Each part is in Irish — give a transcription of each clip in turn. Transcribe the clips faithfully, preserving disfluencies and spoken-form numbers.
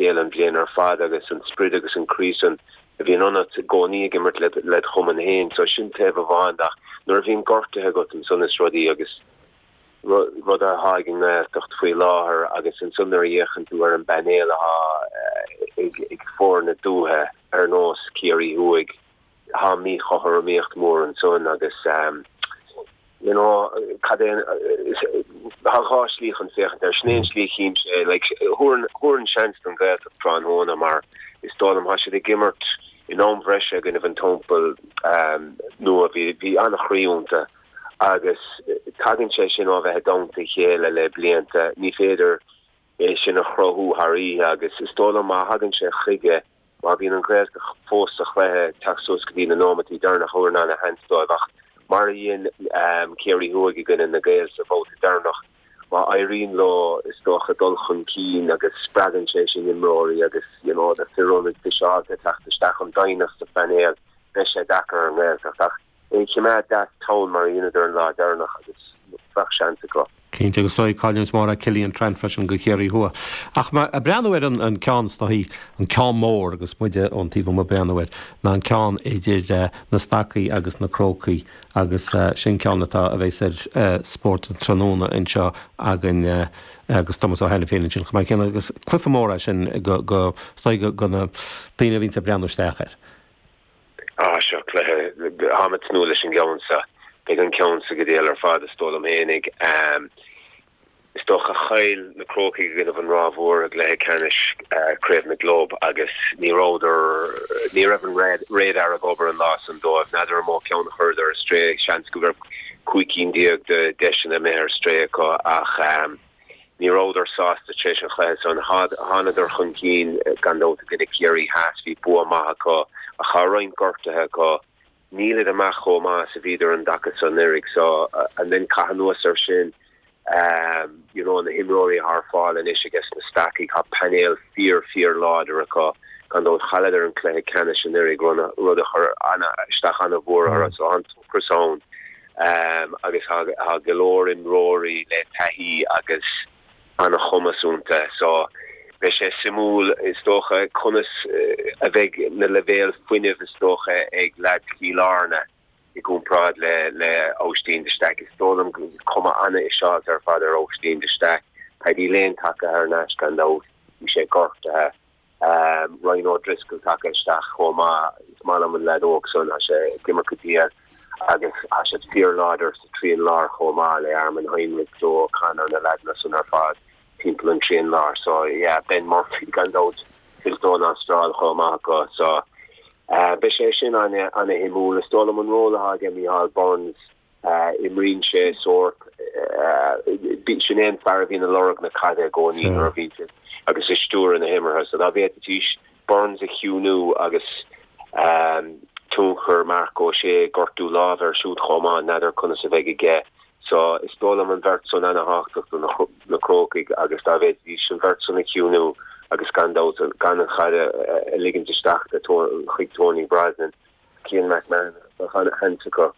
chéile an bhliain ar fad agus an sprid agus an croí san a bhíonn ionat i gcónaí ag imirt le le chumann féin so sin taobh amháin ach nuair a bhíonn gortuithe agat ansan is rudaí agus rud atá ag an nGaeltacht faoi láthair agus ansan nuair a fhéachann tú ar an bpainéal atá ag ag foirne dúiche ar nós Ciarraí Thuaidh tá míchothromaíocht mór ansan agus um, you know cad é tá dhá shlí chun féachaint air sin é an tslí a chímse like thabharfainn seans don Ghaeltacht tráthnóna mar is dóigh liom tá siad ag imirt in am bhreise i gcoinnibh an Teampall um, nua bhí bhí an-chroí iontu agus tagann sé sin ó bheith i dteannta a chéile le blianta ní féidir é sin a chruthú thar oíche agus is dóigh liom má thagann sé chuige má bhíonn an Ghaeltacht fós sa chluiche teacht suas go dtí na nóiméidí deireanacha thabharfainn ana-sheans dóibh ach mar a dhein um, Ciarraí Thuaidh i gcoinne na Gaeil sa bhabhta deireanach má éiríonn leo is dócha dul chun cinn agus spreagann sé sin imreoirí agus you know, na fir ionaid fiseáilte teacht isteach an doimhneacht sa phainéal beidh sé deacair ar an nGaeltacht ach é chimeád deas tone mar dhéanadar an lá deireanach agus bheadh seans acu. Cinnte agus dóigh cailliúint mór Cillian Trant freisin go Ciarraí Thuaidh. Ach má ag breathnú ar an, an ceann is dóichí an ceann mór agus muide ón taobh amuigh ag breathnú air ná an ceann idir uh, na Stacaigh agus na Crócaigh agus uh, sin ceann atá a bheas ar uh, spórt an tráthnóna anseo againn uh, agus Thomas Ó hAiniféin sin chomh maith céanna agus cluiche mór é sin go go go go na daoine a bhíonn ag breathnú isteach air. Ah seo cluiche táim ag tnúth leis an gceann seo beidh an ceann seo go diail ar fad is dóigh liom féinig. Um, is dócha chaill na Crócaigh i gcoinnibh an Ráth Mhór i gcluiche ceannais uh, Craobh na gClub agus ní rabhadar ní raibh an radar ag obair an lá san dóibh n'fheadar an mó ceann a chuireadar ar strae seans go raibh cúig cinn déag de deiseanna imithe ar strae acu ach um, ní rabhadar sásta tar éis an chluiche san thánadar chun cinn gan dabht i gcoinne Ciarraí Theas bhí bua maith acu ach tá roinnt gortuithe acu níl siad amach chomh maith is a bhíodar an dtaca san anuraidh so uh, and then caith anuas air sin um, you know, na himreoirí ar fáil anois agus na Stacaigh tá painéal fíor fíor láidir acu gan dabht chailleadar an cluiche ceannais anuraidh rud a chuir isteach an-mhór orthu so an t-ocras ann um, agus tá go leor imreoirí le taithí agus an-chumas iontu so beidh sé suimiúil is dócha conas uh, a bheidh na leibhéil fuinnimh is dócha ag leaid Chill Airne i gcomparáid le le Óistín de Staic is dóigh liom cuma an-fhiseáilte ar fad ar Óistín de Staic Paddy Lane tagtha thar n-ais gan dabht bhí sé gortaithe um, Ryan O'Driscoll tagtha isteach chomh maith is maith liom an leaid óg san sé ag imirt go diail agus tá sé fíorláidir sa trian lár chomh maith le Armin Heinrich Joe O'Connor na leaideanna san ar fad timpeall an trian lár so yeah Ben Murphy gan dabht fillte ón Astráil chomh maith acu so uh, beidh sé sin an an-shuimiúil is dóigh liom an ról atá ag Micheál Burns uh, imríonn sé sórt uh, sin é an fear a bhíonn ag lorg na caide i gcónaí nuair a bhíonn sé agus ag stiúradh na himeartha so dá bhféadfaidís Burns a chiúnú agus um, tionchar Marc Ó Sé gortú láimhe air siúd chomh maith n'fheadar conas a bheidh aige so is dóigh liom an bheirt san an-tábhachtach do na, na Crócaigh agus dá bhféadfaidís an bheirt san a chiúnú agus gan dabht gan an chaid a ligint isteach chuig Tony Brosnan Cian McMahon acu.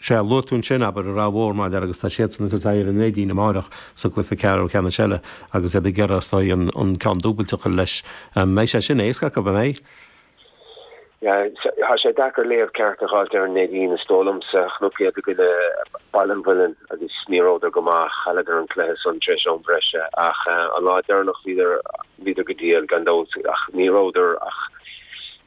Sé luaigh tú ansin abair an Ráth Mhór mar agus tá siad san ar an Neidín amárach sa gcluiche ceathrú ceannais eile agus iad ag iarraidh an an ceann dúbailte leis mbeidh sé sin éasca go mbeidh. Tá sé deacair léamh ceart a fháilt ar an Neidín is dóigh liomsa chonac iad i gcoinne Baile an Mhuilinn agus ní rabhadar go maith chailleadar an cluiche san tar éis am breise ach an lá deireanach bhíodar bhíodar go diail gan dabht ach ní rabhadar ach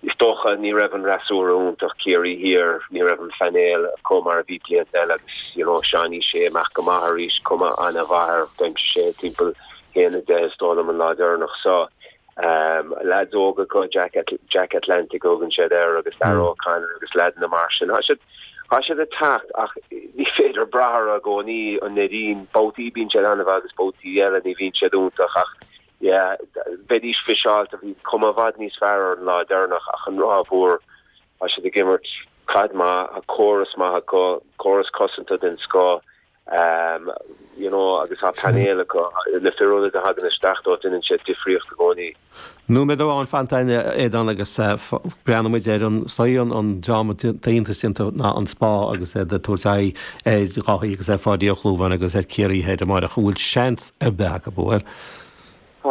is dócha ní raibh an fhreasúra iontach Ciarraí Thiar ní raibh an painéal chomh mar a bhí blianta eile agus you know Seánie Sé amach go maith arís cuma an-mhaith air d'aimsigh sé timpeall haon a deich is dóigh liom an lá deireanach so um, lads óga go Jack, Jack Atlantic thugann siad air agus Darragh O'Connor agus leaideanna mar sin. Tá siad tá siad ag teacht ach ní féidir brath orthu i gcónaí an Neidín babhtaí bíonn siad an-mhaith agus babhtaí eile ní bhíonn siad iontach ach yeah, bheidís fiseáilte bhí cuma i bhfad níos fearr ar an lá deireanach ach an Ráth Mhór tá siad ag imirt caid maith a córas maith acu córas cosanta den scoth um, you know, agus tá painéal acu na fir ionaid a thagann isteach dó déanann sé difríocht i gcónaí. Nóiméad amháin fanta Aodán agus breathnóidh muid ar an stoí an dráma iontach ná an Spá agus é ag tabhairt aghaidh ar Dháithí agus ar Pháidí Ó Clúmháin agus ar Ciarraí Thoir amárach bhfuil seans ar bith acu bhfuil.